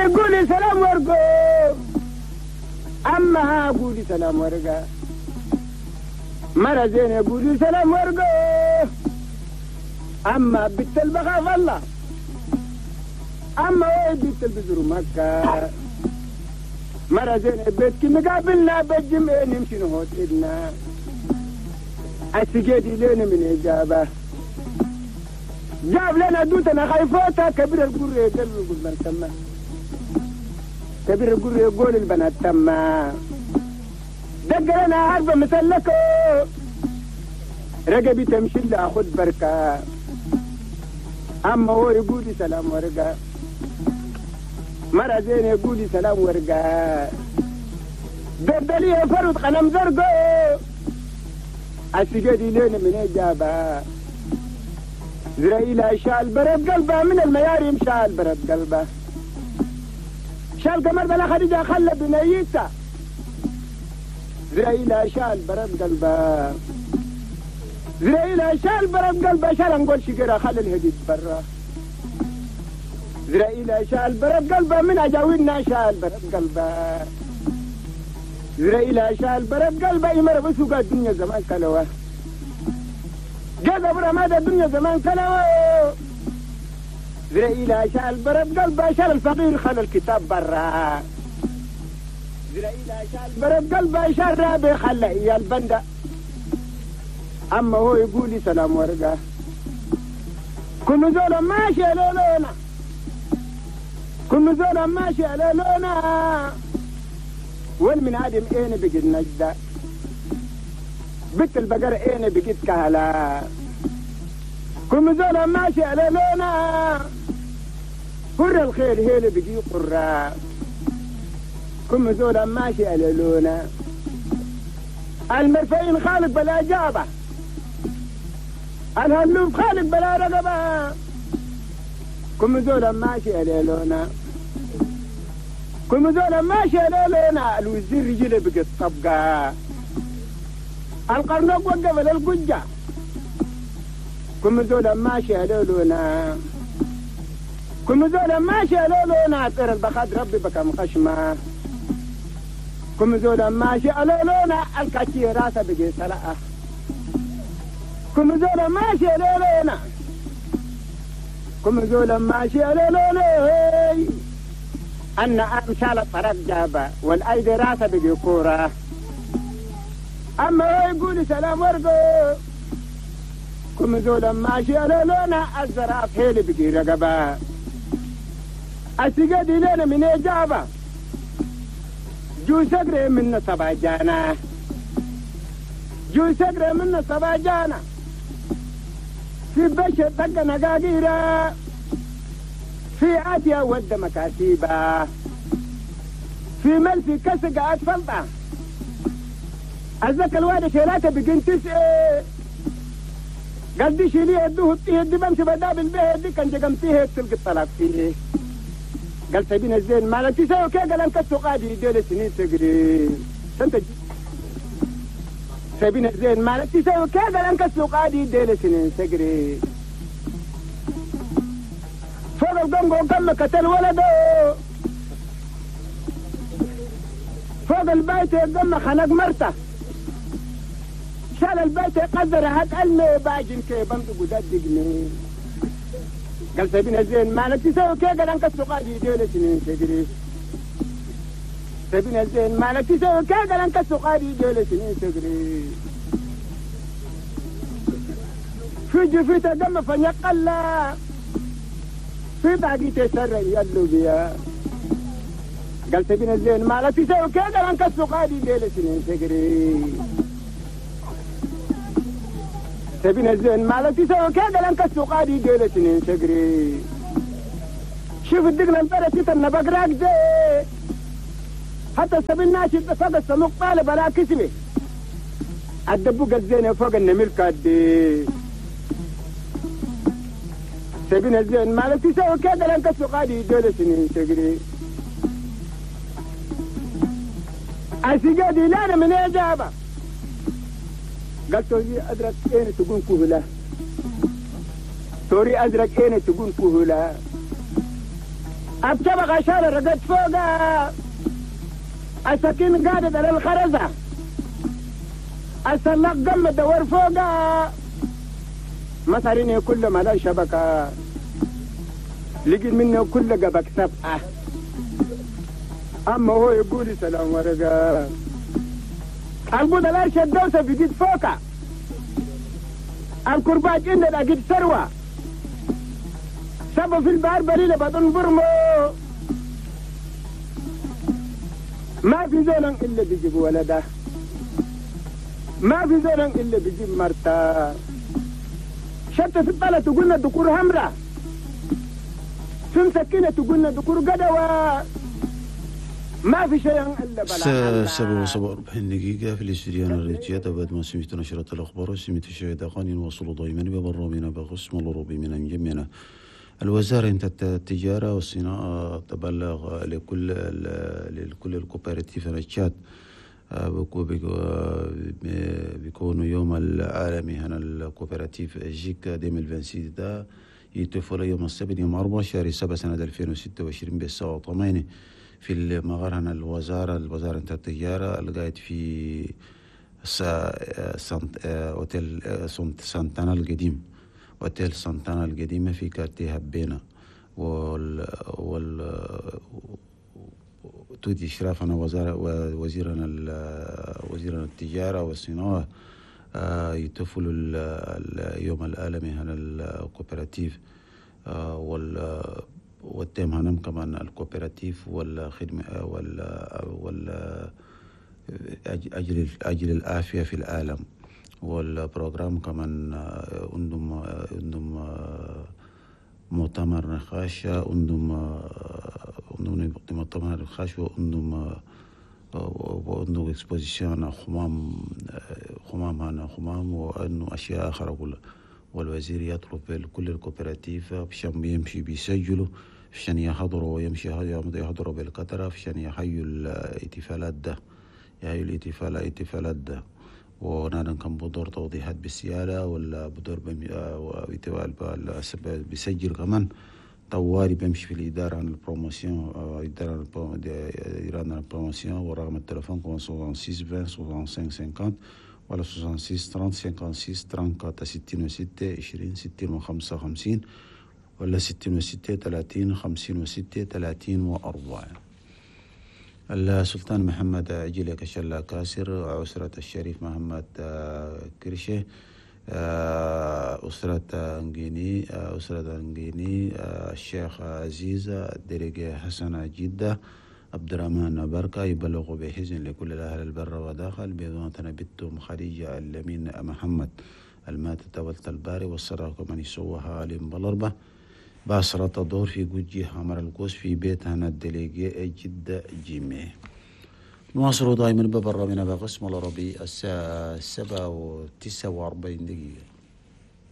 يقولي سلام ورقو أما قولي سلام ورقة مرة زين يقولي سلام ورقو أما بنت البخاف الله أما وين بنت البزر مكة مرة زين بيتك مقابلنا بالجمع نمشي نهوت إدنا السجادي لنا من إجابة جاب لنا دوتنا خايفوتا كبير القر يقول من تما كبير القر يقول البنات تما دق لنا عربة مسلكو رقبي تمشي لأخذ بركة أما هو يقول سلام ورقة مرة زين يقول سلام ورقة دردلي فرد قلم زرقو السجادي لنا من إجابة زرائيل شال برد قلبه من الميارم شال برد قلبه شال قمر بلا خديجة خلى بنيته زرائيل شال برد قلبه زرائيل شال برد قلبه شال نقول شجرة خلى الهديد برا زرائيل شال برد قلبه من أجاوينا شال برد قلبه زرائيل شال برد قلبه يمر بسوق الدنيا زمان كلوه جذب رماد الدنيا زمان كلوه زرائيل شال برد قلبه شال الفقير خلى الكتاب برا زرائيل شال برد قلبه شال رابي خلى إياه البندة أما هو يقول لي سلام ورقة كل زول ماشي على لونا كل زول ماشي على لونا والمن عدم اين بقيت نجدة بنت البقر اين بقيت كهلا كل زول ماشي على لونا قر الخير هيل بقي قرة كل زول ماشي على لونا المرفعين خالق بلا جابة الهلوب خالق بلا رقبة كل زول ماشي على لونا كل زول ماشي على لونا الوزير رجله بقت طبقة القرنوق وقف للقجة كل زول ماشي على لونا كل زول ماشي على لونا طير البخاد ربي بكم خشمة كل زول ماشي على لونا الكاتي راسه بقي سلقة كل زول ماشي على لونا كل زول ماشي على لونا أن أمثال الطرق جابة والأيدي راسه بقي كورة أما هو يقول سلام ورقو كل زول ماشي على لونا الزراف هيلي بقي رقبة السجادي لنا من إجابة جو سقري من سبع جانا جو سقري من سبع جانا في بشر طق نقاقيرة في عاتية ود مكاتيبة في ملفي كسقة أتفلطة الزكا الواد شيلاته بقين تسعة قال دي شيليه يدوه يدي بمشي بدابل بيه دي كان جقمتيه تلقي الطلاق فيه قال سبينا الزين مالك تساوي كي قال انك قادي ديال سنين تقري سنت سبينا الزين مالك تساوي كي قال انك قادي ديال سنين تقري فوق القنقو كم قتل ولده فوق البيت قم خنق مرته شال البيت قدر هات المي باجن كي بمدق ودقني قال سبينا الزين مالك تساوي كي قال انك قادي ديال سنين تقري سبينا الزين مالك تساوي كي قال انك قادي ديال سنين تقري في جفيته دم فنقلا في باقي تسرع يلو بيا قال سبينا الزين مالك تساوي كي قال انك قادي ديال سنين تقري سبينا الزين مالك تساوي كي قال انك قادي ديال سنين تقري شوف الدقلة البرة تتنا بقراك دي حتى سبيل ناشد فوق السموق طالب على كسبه الدبوق الزين فوق النميل كادي سبينا الزين مالك تساوي كي قال انك قادي ديال سنين تقري السجادي لا من إجابة قال توري أزرق إين تقول كهلا توري أزرق إين تقول كهلا الطبقة شال رقد فوقها السكين قادت على الخرزة السلاق قم دور فوقها مصاريني كل ما لا شبكة لقيت منه كل قبك سبعة أما هو يقول سلام ورقة البودة لا شدوسة في جد فوقها الكرباج إن أجد ثروة سبب في البحر بريلة بطن برمو ما في زول إلا بيجيب ولده ما في زول إلا بيجيب مرته شتى في الطلة تقولنا دكور همرة في مسكينة تقولنا دكور قدوة ما في شيء إلا بلا. 7:47 دقيقة في الاستديو الريتيات بعد ما سمعت نشرة الأخبار وسمعت الشهيد أغاني وصلوا دائما ببرامنا بقسم الروبي من جميعنا. الوزارة التجارة والصناعة تبلغ لكل ال coopératives التشاد بيكونوا يوم العالمي هنا ال coopérative جيك 2026 ده يتفل يوم السبت يوم 4 شهر 7 سنة 2026 بالساعة 8 في المغار هنا الوزارة التجارة القاعد في أوتيل سانتانا القديم، أوتيل سانتانا القديمة في quartier هبينا، وال وال تودي إشرافنا وزيرنا وزيرنا التجارة والصناعة يتفل اليوم العالمي هنا ال coopérative وال thème هنم كمان ال coopérative والخدمة وال أجل العافية في العالم. وال programme كمان عندهم مؤتمر نقاش، عندهم مؤتمر نقاش وعندهم exposition خمام هنا خمام وانه اشياء اخرى كلها. والوزير يطلب كل ال coopératives عشان يمشي بيسجلوا عشان يحضروا ويمشي يحضروا بالقطرة عشان يحيوا الاحتفالات ده، يحيوا الاحتفالات ده. ونحن كان بدور توضيحات بالسيادة ولا بدور بيسجل كمان طواري بيمشي في الإدارة عن ال promotion، إدارة عن ال promotion، ورقم التلفون كمان 66 20 65 50 ولا 66 30 56 34 66 20 60 55 ولا 66 30 56 34. السلطان محمد عجلة كشلا كاسر، أسرة الشريف محمد كرشة، أسرة أنجيني، الشيخ عزيز الدرجة حسن جدة، عبد الرحمن بركة يبلغ بحزن لكل الأهل البر وداخل بيضانتنا بنتهم خديجة الأمين محمد الماتت ولت الباري والصراخ من يسوها عليهم بالأربع باسرة الدور في جوجي حمر القوس في بيت هنا الدليجي جدة جيمي. نواصل دائما ببرامنا بقسم العربي الساعة 7:49.